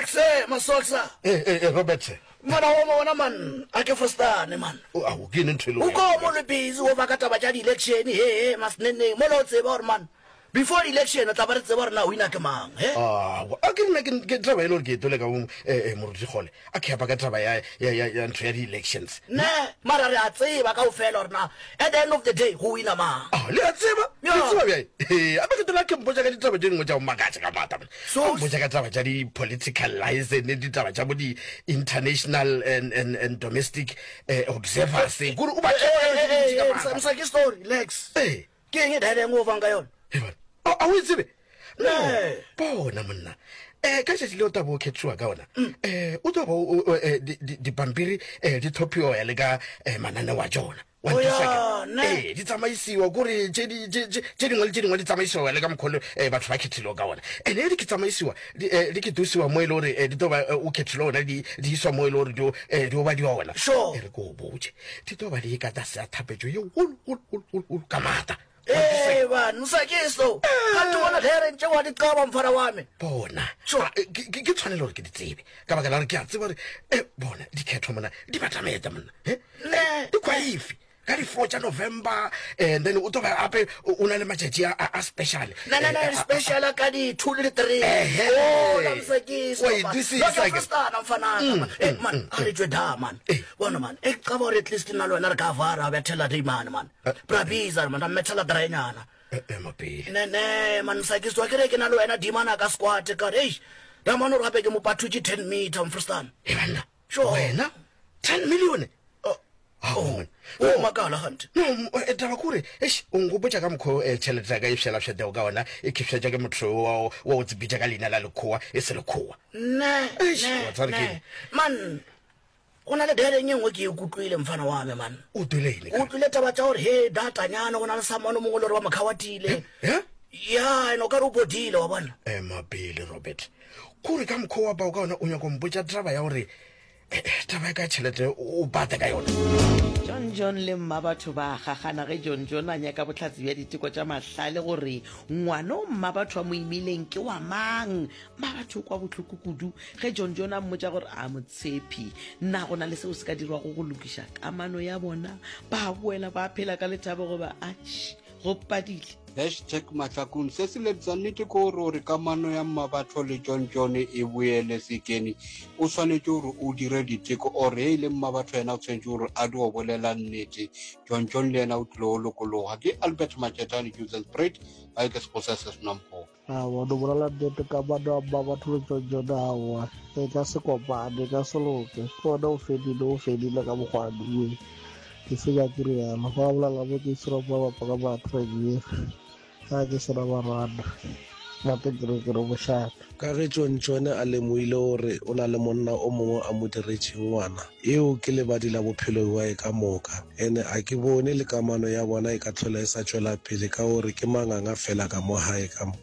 Exe, Masoxa. Eh, eh, eh, Robert. Mfana wa bona man, a ke fostane man. O a ke ene ntho e le. O ko mo le busy o baka taba tša di-election he he masneneng mola o tseba gore man before election o tla ba re tseba gore na wina ke mang he. Ah, a ke nna ke taba e le gore ke etole ka bo eh, eh, moruti kgole a ke apa ka taba ya ya ya ya ntho ya di-elections. Ne, mara re a tseba kaofela gore na at the end of the day go wina mang. Ah, le a tseba? Ya. Le tseba bjang? Ee, ape ke tola ke mpotša ka ditaba tše dingwe tša go makatša ka maata. So- A mpotša ka taba tša di-political liaison, ditaba tša bo di-international and, and, and domestic eh, observers. Kore o ba Eh, eh, eh, eh, ka Msa ke story, relax. Ee. Ke eng e daeleng o fang ka yona? Ee, bona. A a o e tsebe? No, Nee. bona monna. Eh ka tšatši le o tabo o khethiwa ka ona. Eh o tlo ba o- o- eh, di- di- dipampiri eh di thophiwa ya le ka eh, mananeo a tšona. Wa O nthusa ya, ke? ne. Ee, di tsamaisiwa kore tše di- tše- tše tše dingwe le tše dingwe di tsamaisiwa le ka mokgwa le eh, batho ba khethilego ka ona. Ene di ke tsamaisiwa di eh, di ke dosiwa mo e le gore eh, di tlo ba eh, o khethile ona di di iswa mo e le gore di o eh, di o badiwa ona. Sure. E re ke o botše di tlo ba di ka tlase a thapetšo ye golo golo golo golo golo ka maata. Ee, ban, Msakiso. Kanti bona there ntše wa di qaba mfana wa me. Bona. Sure. Ah, eh, ke ke- ke tshwanelo gore ke di tsebe ka baka la gore ke a tseba gore eh, bona dikhetho mona di batameta monna eh? Ne. Di kwaifi ka di-four tša November and then o tlo ba gape o na le matšatši a, a, a special Na na na Eh, a- a- special ka di 2 le di 3. Ehe. Oh, la Msakiso. Wa e dwisisa ke. Frustana mfana. Eh man, a re tšwe da man. Eh. Bona man, e qaba gore at least nna le wena re ka vara bethela day man man. Bra biza man, ra mmethela draenyana. Eh, ema pele Ne ne man Msakiso wa kere ke na le wena dimana ka squat ka re eish. Da man o re gape ke mo pathutše 10 meter mfrustana. e banna Sure. wena 10 million Oh, Ao, man. o makala gante. No, eh, taba kore eish o nkgopotša ka mokgwa o, eh, tšhelete ya ka e fšelafšetego ka ona e khefšetša ke motho wa wa go tsebitša ka leina la lekgowa e se lekgowa Ne, Eish, ne, wa tseba re ne. ke eng? Man, go na le dereng e nngwe ke e kutlwile mfana wa me man. O twele eng O utlwile taba tša gore he datanyana go na le samane o mongwe le gore ba mokhawatile. Eh? Ya, ene o ka re o bodile wa bona. Ema pele Robert kore ka mokgwa wa bao ka ona o nyaka go mpotša taba ya gore eh, eh, taba ya ka tšhelete o bata ka yona. John John le mmabatho ba a gagana ge John John a nyaka bohlatse bja diteko tša mahlale gore ngwana o mmabatho a mo imileng ke wa mang. Mmabatho o kwa bohloko kudu ge John John a mmotša gore a mo tshepe. Na go na le seo se ka dirwago go lokiša kamano ya bona? Ba boela ba phela ka lethabo goba atšhi go padile? Hashtag Mahlakung Se se lebza nnete ke gore gore kamano ya Mmabatho le John John e boele sekeni o swanetše gore o dire diteko or ge e le Mmabatho yena o tshwanetše gore a dio bolela nnete John John le yena o tlile go lokologa ke Albert Matšetane Johannesburg gae ke Sekgosa se se Nwamkgobe. Aowa, no bolela nnete kamano ya Mmabatho le John John aowa e ka se kopane, e ka se loke. Ke gona o fedile, o fedile ka mokgwa wa Ke se nyake realo. Ba bolela mo ke sera ba bapa ka matreng ga ke sena barwana. Gape ke re ke re bošata. Ka ge Tšontšone a lemoile gore o na le monna o mongwe a mo diretšeng ngwana, eo ke lebadi la bophelo bjae ka moka. Ene a ke bone le kamano ya bona e ka hlola e sa tšwela pele ka gore ke manganga fela ka mo gae ka mo.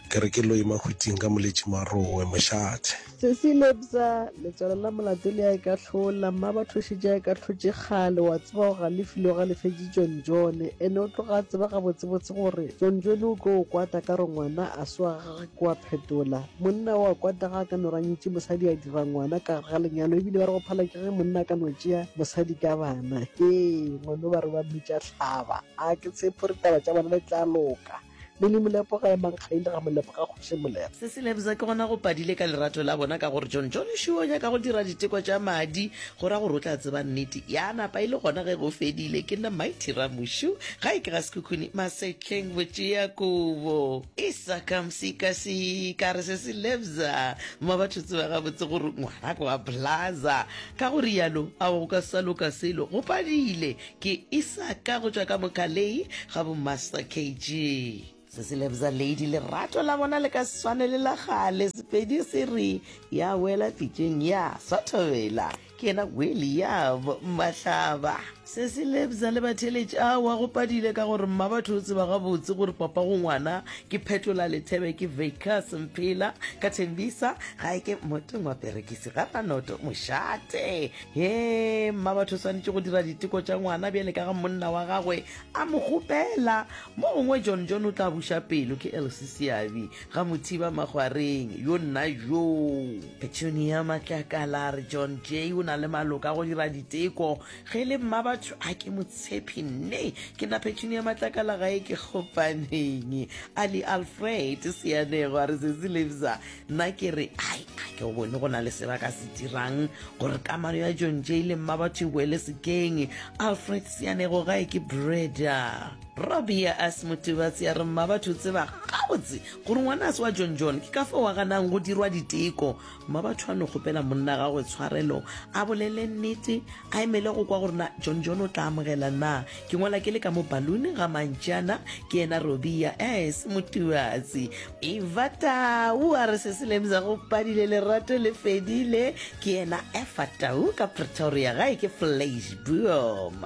Ke re ke loi mahwiting ka moletši marowe mošate. Sesi Lebza, letswalo la molato le a ikahlola, mmabatho o šetše a ikahlotše kgale, wa tseba o galefile o galefetše John John, ene o tloga a tseba gabotsebotse gore John John o tlo o kwata ka gore ngwana a se wa gagwe ke wa phetola. Monna o a kwata ga a ka no ranyetše mosadi a dira ngwana ka gare ga lenyalo ebile ba re go phala ke ge monna a ka no tšea mosadi ka bana. Ee, ngwano ba re ba mmitša hlaba. A ke tshepe gore taba tša bona di tla loka. Mele Molepo ga emang ga ile ga Molepo ga kgoši Molepo. Se se lebza ke gona go padile ka lerato la bona ka gore John John šo o nyaka go dira diteko tša madi go ra gore o tla tseba nnete ya napa e le gona ge go fedile. Ke nna Mighty Ramushu gae ke ga Sekhukhune Masetleng Botšeakobo. Isaka Msikasika re se se lebza mma batho tseba gabotse gore ngwana ke wa Blaza ka go rialo a go ka sa loka selo go padile Ke Isaka go tšwa ka Mokalei ga bo Master KG. Se se lebza lady lerato la bona le ka se swane le la kgale Sepedi se re ya wela pitšeng ya swa thobela ke yena William Mahlaba. Sesi Lebza le batheeletši, Aowa, go padile ka gore mmabatho o tseba gabotse gore papa go ngwana ke Phetola Lethebe ke Vacus Mphela ka Thembisa gae ke Motong wa Perekisi ga Ranoto mošate. Hee, mmabatho o swanetše go dira diteko tša ngwana bjale ka ga monna wa gagwe a mo kgopela. Mo gongwe John John o tla buša pelo ke Elsie Seabi ga Mothiba Makgwareng yo nna joo. Petunia Matlakala a re John Jay o na le maloka a go dira diteko Ge e le mmabatho a ke mo tshepe nne. Ke nna Petunia Matlakala gae ke kgopaneng. Ali Alfred Seanego a re sesi Lebza nna ke re ai a ke go bone go na le se ba ka se dirang gore kamano ya John Jay le mmabatho e boele sekeng. Alfred Seanego gae ke Breda. Robia As Motubatsi a re mmabatho o tseba gabotse gore ngwana a se wa John John ke ka fao a ganang go dirwa diteko. Mmabatho a no kgopela monna gagwe tshwarelo, a bolele nnete, a emele go kwa gore na John John o tla amogela na. Ke ngwala ke le ka mo balloon ga Mantšana, ke yena Robia S. Motubatsi. Eva Tau a re se se lemza go padile lerato le fedile, ke yena Efa Tau ka Pretoria gae ke Vleisboom.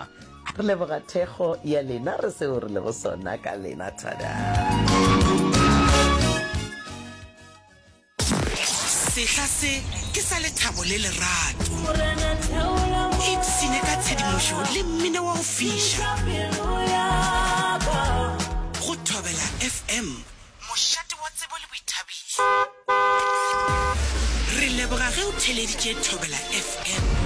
Re leboga thekgo ya lena, re seo re lego sona ka lena. Thada. Sehla se ke sa lethabo le lerato. Ipshine ka tshedimošo le mmino wa go fiša. Go Thobela FM, mošate wa tsebo le boithabišo. Re leboga ge o theeleditše Thobela FM.